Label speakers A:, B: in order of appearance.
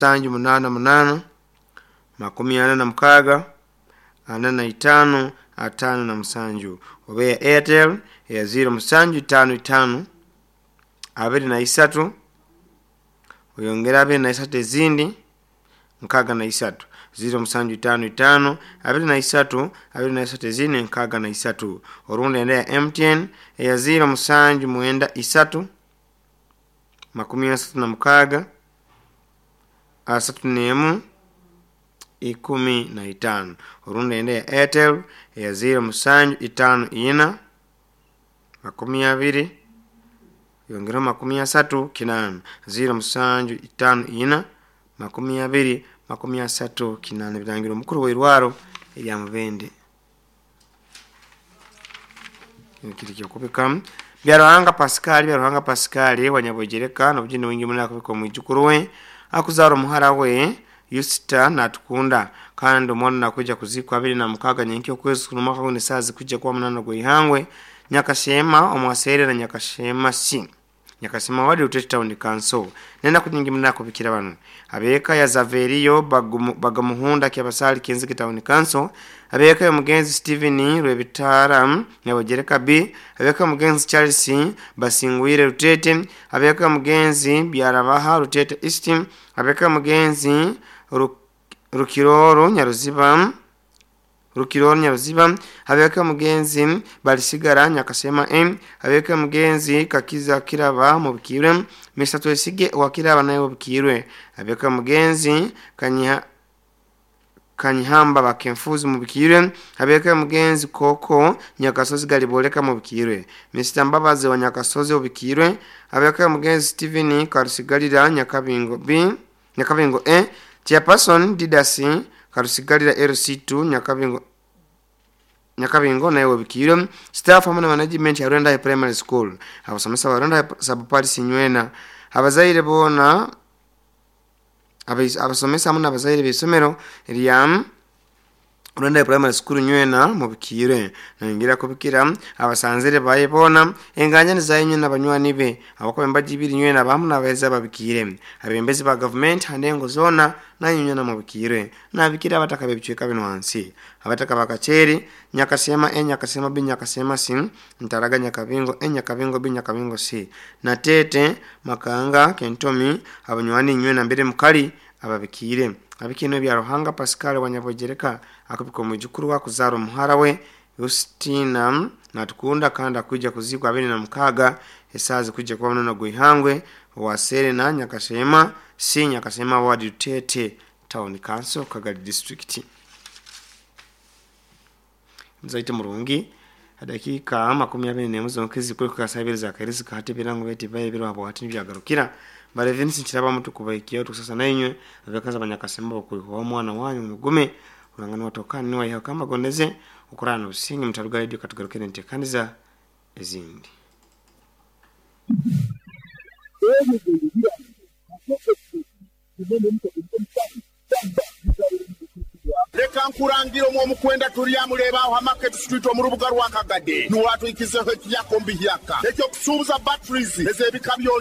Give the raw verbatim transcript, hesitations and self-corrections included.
A: Musanju munaana munaana makumi ana na mukaaga ana na itaano ataano na musanju, oba eya Airtel eya ziro musanju itaano itaano abiri na isatu oyongere abiri na isatu ezindi nkaaga na isatu, ziro musanju itaano itaano abiri na isatu abiri na isatu ezindi nkaaga na isatu. Orundi enda ya M T N eya ziro musanju mwenda isatu makumi asatu na mukaaga asatu n'emu ikumi na itaano. Orundi enda ya Airtel eya ziro musanju itaano ina makumi abiri yongeraho makumi asatu kinaana, ziro musanju itaano ina makumi abiri makumi asatu kinaana. Birangira omukuru w'eirwaro erya Mubende. Kiri kyokubika Byaruhanga Pascal. Byaruhanga Pascal Wanyabwegereka nobugeni wingi muno akubika omwijukuru we akuzaara omuhara we Yusita Natukunda, kandi omwana nakwija kuzikwa abiri na mukaaga nyenkya okwezi kuno omwaka guno esaaha zikwijja kuba munaana gw'eihangwe Nyakashema omwaseere na Nyakashema C, Nyakashema ward, Rutete Town Council. Nenaku nyingi muno akubikira bano: abeeka ya Zaveriyo Bagamuhunda Kyabasali, Kenzige Town Council; abeeka y'omugenzi Stephen Rwebitara, Nyabogereka B; abeeka y'omugenzi Charles Basingwire, Rutete; abeeka y'omugenzi Byarabaha, Rutete East; abeeka y'omugenzi Rukiroro Nyaruziba, Rukiroro Nyaruziba; abeeka y'omugenzi Balisigara, Nyakasema M; abeeka y'omugenzi Kakiza Kiraba Mubikirwe, Mister Twesige wa Kiraba naye Mubikirwe; abeeka y'omugenzi Kanyiha Kanyihamba Bakenfuzi Mubikirwe; abeeka y'omugenzi Koko Nyakasozi Galiboleka Mubikirwe, Mister Mbabazi wa Nyakasozi Mubikirwe; abeeka y'omugenzi Stephen Karusigalira, Nyakabingo B, Nyakabingo A, Chairperson Didasi Karusigalira, L C two Nyakabingo, Nyakabingo naye Webikirwe; staff hamwe na management ya Rwenda Primary School, abasomesa ba Rwenda Sub Parish Nywena, abazaire boona, abasomesa hamwe n'abazaire b'isomero rya Rwenda Primary School Nywena Mubikirwe. Nayongera kubikira abasanzire baye boona, enganjani zaye nywena, banywani be abakuba embaji ibiri nywena bamu n'abaheza babikire, abembezi ba gavumenti handengo zoona nayo nywena mubikirwe. Nabikira abataka b'ebicweka bino wansi: abataka bakacheri, Nyakasema A, Nyakasema B, Nyakasema C, Ntaraga, Nyakabingo A, Nyakabingo B, Nyakabingo C, Natete, Makanga, Kentomi, abanywani nywena mbere mukali ababikire. Abikino bya Ruhanga Pascal Wanyabogereka akubika omwijukuru wakuzaara omuhara we Justina Natukunda, kandi akwija kuzikwa abiri na mukaaga esaaha zikwijja kuba munono gw'eihangwe owa Serena, Nyakashema C, Nyakashema Ward, Rutete Town Council, Kagali District. Muzaite murungi, dakiika makumi abiri n'emu zonka ezikuri saa ibiri za kairi zikahata ebirango beti baye biro habo hati nibyagarukira bale Vince Nkiraba mutukubaikio tukusasa nainywe abekaza abanyakasemba bakuihuwa omwana wanyu mugume urangana watokani niwaiha kamba gondeze ukurana obusinge mutaruga radio katugarukire enteekaniza ezindi.
B: Reka nkurangira omwo omukwenda turyamureeba aho Market Street omu rubuga rwa Kagade niwatwikizeho ekiyakombi hyaka ekyokusuubuza batteries ez'ebika byona.